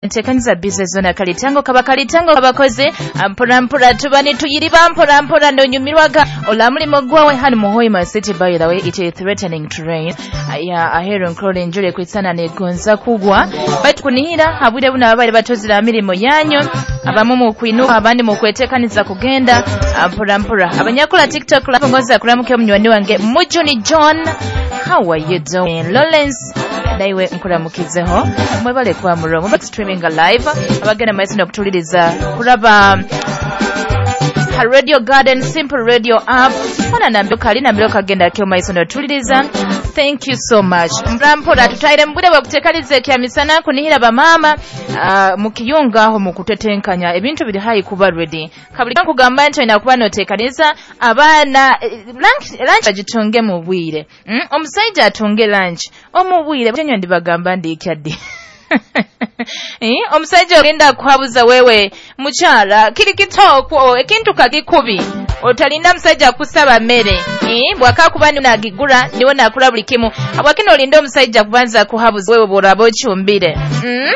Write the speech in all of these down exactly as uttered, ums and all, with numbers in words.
Ntekaniza bize zona kalitango kaba kalitango abakozi mpora mpora tuba nituyiriba mpora mpora ndonyumirwaga ola mulimo gwawe hano mu Hoima City. By the way, it is threatening to rain ya ahero nkrole njure kwitsana negonza kugwa baitu kunihira habwire buno ababali batozira mirimo yanyu, abamu mu kwinuka, abandi mu kwetekaniza kugenda mpora mpora. Abanyakola TikTok ngoza kuramuke munywani wange Mujuni John, how are you doing? Lawrence naiwe nkuramukizeho, mwebale kwa muromo but streaming live abagenda maiso nokutuliriza kuraba ha Radio Garden Simple Radio app ona nambio kali nambio kagenda kyo maiso notuliriza. Thank you so much. Mpora tutaire mbure bwakutekalize kya misana kunihira bamama uh, mukiyunga aho mukutetenkanya ebintu biri hayi kuba ready kabuli kugamba nti inakuba notekaniza abaana lunch lunch agitunge mu bwire mm? Omusajja atunge lunch omubwire tenyo ndibagamba ndi kyaddi. Eh, omusajja ogenda kuhabuza wewe mukyala kiri kitoko ekintu kakikubi otalinda musajja kusaba mmere, eh, bwakakuba nagigura niwe nakula buli kimu abwakino olinda omusajja kubanza kuhabuza wewe bworaba okyumbire mm?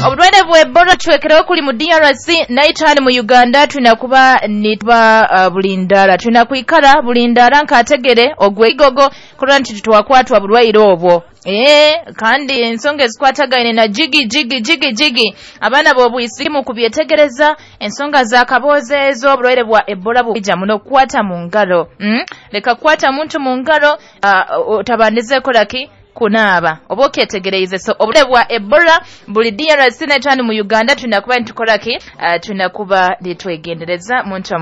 Obulwaire bwa Ebola tuwekereho kuli mu D R C naitani mu Uganda tulina kuba nituba uh, bulindala tulina kwikara bulindala nkategere ogweigogo kulwa nti twakwatwa bulwaire obwo. Eh, kandi ensonga ezikwatagaine na jigi jigi jigi jigi abaana b'obwisimu kubyetegereza ensonga za kaboozi ezo obulwaire bwa Ebola bujja muno kukwata mu ngalo mm? Leka kukwata muntu mu ngalo uh, otabandize kolaki kunaaba oba okyetegereize. So obulwaire bwa Ebola buli D R C netwani mu Uganda tulina kuba nitukolaki uh, tulina kuba nitwegendereza muntu wa